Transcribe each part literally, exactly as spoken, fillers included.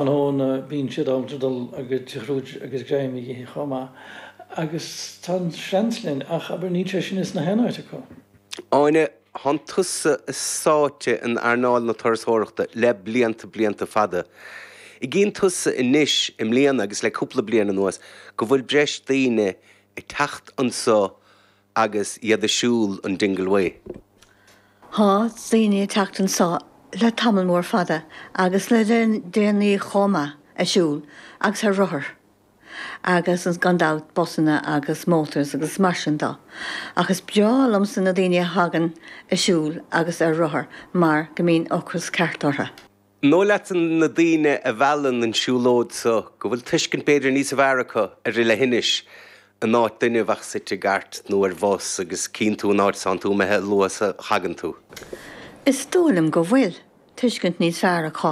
Tráthnóna bíonn siad ábalta dul agus tigh agus greim a ithe chomh maith agus tá an seans linn ach abair níl sé sin ins na haon áit acu. Áine, thánn tusa sáite in earnáil na turasóireachta le blianta blianta fada. An gcíonn tusa anois i mbliana agus le cúpla bliain anuas go bhfuil breis daoine ag teacht anseo agus iad ag siúl an Dingle Way. Tá daoine ag teacht anseo le tamall mór fada agus le déanaí chomh maith ag siúl agus ar rothar. agus gan dabht busanna agus motors agus mar sin de. Ach is breá liomsa na daoine a thagann ag siúl agus ar rothar mar go mbíonn ocras ceart orthu. Nó leat na daoine a mheallann an siúlóid so go bhfuil tuiscint b'fhéidir níos fearr acu ar leithinis in áit duine a bheadh suite i gcairt nó ar bhus agus cíonn tú an áit tánn tú imithe luath a thagann tú. Is dóigh liom go bhfuil tuiscint níos fearr acu,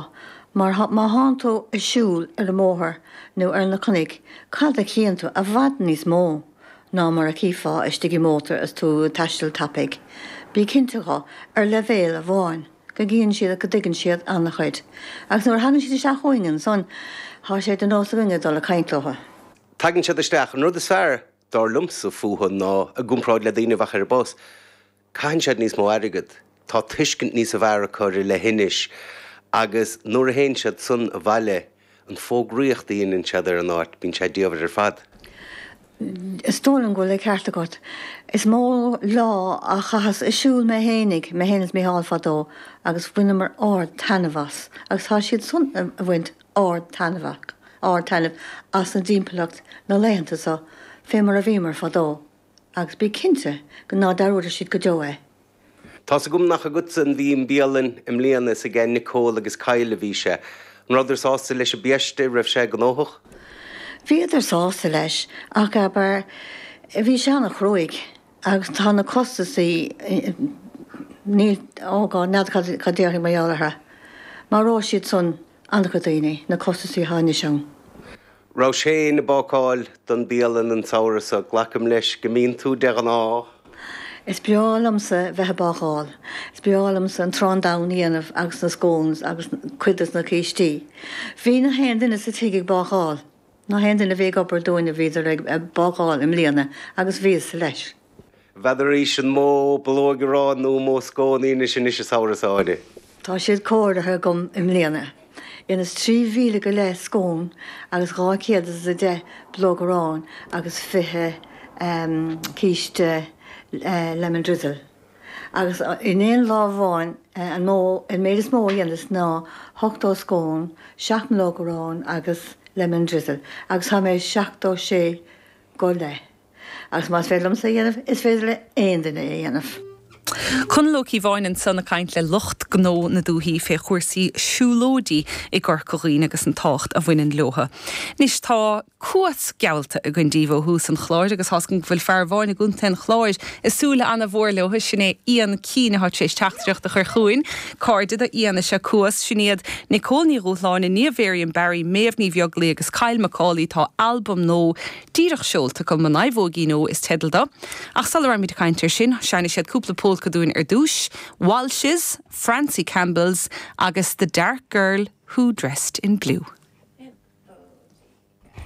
mar má thánn tú ag siúl ar an mbóthar nó ar na cnoic, cad a chíonn tú i bhfad níos mó ná mar a chífeá istigh i mótar is tú ag taisteal tapaidh. Bí cinnte de ar leibhéal amháin go gcíonn siad go dtuigeann siad an-chuid. Agus nuair a thagann siad isteach chugainn ansan, tá sé de nós againne dul ag caint leo. Tagann siad isteach an rud is fearr dar liomsa fúthu ná i gcomparáid le daoine a bheadh ar an bus. Caitheann siad níos mó airgead, tá tuiscint níos fearr acu ar leithinis agus nuair a théann siad san abhaile an fógraíocht a dhéanann siad ar an áit, bíonn sé diamhair ar fad. Is dóigh liom go bhfuil an ceart agat. Is mó lá a chaitheas ag siúl mé fhéinig, mé féin is Mícheál fadó agus bhaineamar ard-taitneamh as, agus tá siad san ag baint ard-taitneamh ard-taitneamh as an dtimpeallacht na laethanta seo fé mar a bhíomar fadó, agus bí cinnte go ná dearúdfaidh siad go deo é. Tá's agam nach agatsa a bhí an bhialann i mbliana is aige Nicole agus Kyle a bhí sé. An rabhadar sásta leis an biaiste raibh sé gnóthach? Bhíodar sásta leis ach abair bhí sé an-chruaidh agus tá na costasaí níl oh God n'fheadar cad déarfainn mar gheall orthu. Maróidh siad san an-chuid daoine, na costasaí atá anois ann. Raibh Shane ag bácáil don bialann an samhradh so glacaim leis go mbíonn tú de ghnáth. Is breá liomsa bheith ag bácáil. Is breá liomsa an t-arán donn a dhéanamh agus na scones agus cuid de na cístí. Bhí na haon duine sa tigh ag bácáil. Na haon duine a bhí ag obair dúinn a bhíodar ag bácáil i mbliana agus bhíos leis. N'fheadar arís an mó bulóg aráin nó mó scón a dhéanfas anois an samhradh seo Áine. Tá siad cóirithe agam i mbliana. Dheineas trí mhíle go leith scón agus dhá chéad is a deich bulóg aráin agus fiche císte lemon drizzle. Agus in aon lá amháin an mó an méid is mó a dheineas ná ochtó scón, seacht mbulóg aráin agus lemon drizzle, agus tá mé seachtó sé go leith. Agus más féidir liomsa a dhéanamh, is féidir le aon duine a dhéanamh. Conall Ó Cíobháin ansan ag caint le lucht gnó na dúthaí fé chúrsaí siúlóidí i gCorca Dhuibhne agus an tábhacht a bhaineann leotha. Anois tá Cuas geallta againn díbh ó thús an chláir agus tá go bhfuil fear amháin i gContae an Chláir ag súil an-mhór leo sin é Ian Keane atá tar éis teachtaireacht a chur chugainn. Cairde do Ian is ea Cuas sin iad Nicole Ní Dhúshláine, Niamh Miriam Barry, Méabh Ní Bheaglaoich agus Kyle McCauley tá albam nua díreach seolta acu an Naomhóigín Ó is teideal dó. Ach sula rachaimid ag caint air sin, seinnfidh siad cúpla polca dúinn ar dtús, Walsh's, Francie Campbell's agus The Dark Girl Who Dressed in Blue.